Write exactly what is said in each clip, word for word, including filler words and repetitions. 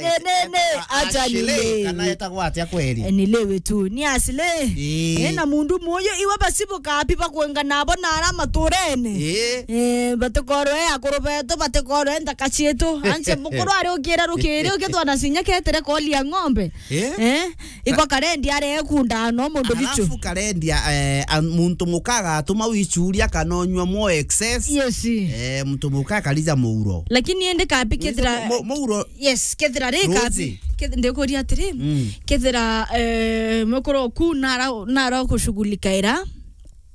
Ne, ne, ne, acha Ashley, nile. Kana etagwa atia kweli? Eh, nilewe tu. Ni Ashley. Ii. Eh, na mundu moyo iwe basi bukapi bakwenga nabo na ara maturene. Ii. Eh, batikoro e akuru betu, batikoro e nthaka cietu. Anche mukuru ari ukira rukiri, ukithwa na sinya ketere koli ya ng'ombe. Ii. Eh, iko karendi are ekunda no mundu bichu. Alafu karendi, eh, a-, muntu muka agatuma wichuria kana onyua mo excess. Yes. Eh, muntu muka akarija muuro. Lakini ende kapi kethira mo-, mo-, muuro. Yes, kethira ri kapi. Rosie. Keth-, ndikuria atiri, mm, kethira, eh, mukuru oku nara, nara kushughulika ira,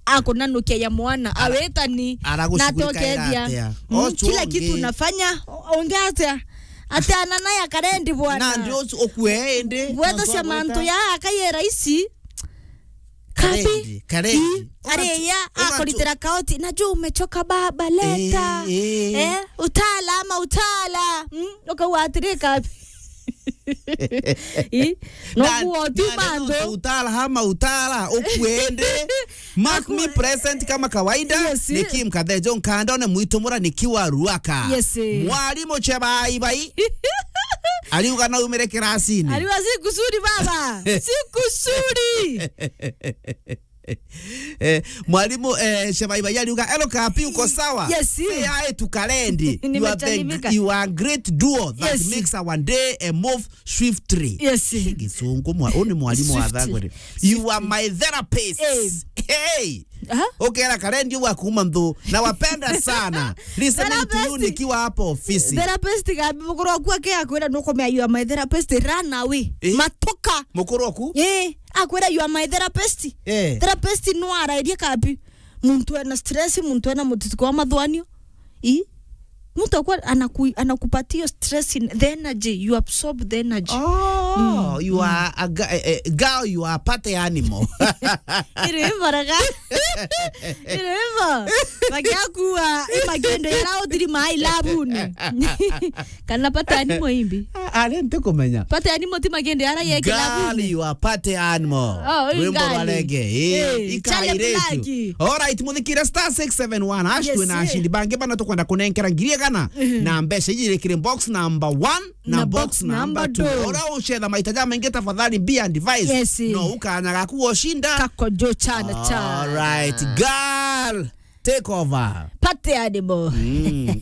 akunanukia ya mwana, ara-, awitani, aragushughulikia ira atia? Mm, ochu kila ungi kitu unafanya, o-, ungi atia? Ati ana naye akarendi bwana. Na ndio ochu ukue indi. Gwetha cia mantu ya akaye rahisi. Kapi. Karendi, karendi. Ii, areya, ugachu-, ugachu- akuritira kaoti, "Najua umechoka baba, leta." Eh, eh. Eh, utala ama utala. Mm, ukauga atiri, kapi. Ii, na, nokuo tu na, na mantu. Utala ama utala, ukue indi. Mark me present kama kawaida. Yes. Ni Kim Kathejo Nkandone mwitu mura nikiwa Ruaka. Yes. Mwalimu Chebai Bai. Aliuga na umire kirasini. Aliuga, "Sikusudi baba. Sikusudi." Eh, mwalimu, eh, Shemaiba aliuga, "Hello, Kapi, uko sawa?" Yes. Say hi to Kalendi. You are the, nimesalimika, you are a great duo that, yes, makes our day, eh, move swiftly. Yes. Hii Githungu mwa-, huu ni mwalimu wa swiftly. Thagore. You are my therapist. Eh. Hey! Aha. Ukera Kalendi wa kuma nthu. Nawapenda sana. Listening to you nikiwa hapo ofisi. Therapist, Kapi, mukuru waku ake akwira nukumea, "You are my therapist, run away." Eh? Matuka. Mukuru waku? Eh, akwira, "You are my therapist." Eh. Therapist no arairie Kapi. Muntu ena stress, muntu ena mutituko wa mathwanio. I? Muntu akwa anaku-, anakupatia hiyo stress in the energy, you absorb the energy. Oh, mm, you are a ga-, eh, eh, girl, you are a party animal. Iri hivyo raga. Iri hivyo. Magakua, eh, magendo yara utiri mai labuni. Kana party animal imbi? Ah, ah, ntikumenya. Party animal ti magendo yara ye kilabu. Girl, you are party animal. Oh, rwimbo rwa ngali. Reggae. Eh, eh, ikaire Charlie tu. Black. All right, muthikire star six seven one hash. Yes, twina, eh, ashindi bangi bana tukwenda kunenkera ngiri igana, mhm, na mbeca iji irikire box number one na, na box, box number, number two, two. Ora ucetha maita ja maingi, tafadhali be advised. Yes. No ukanya gaku gushinda. Kako jo chana cha. All right, girl, take over. Party animal. Mm.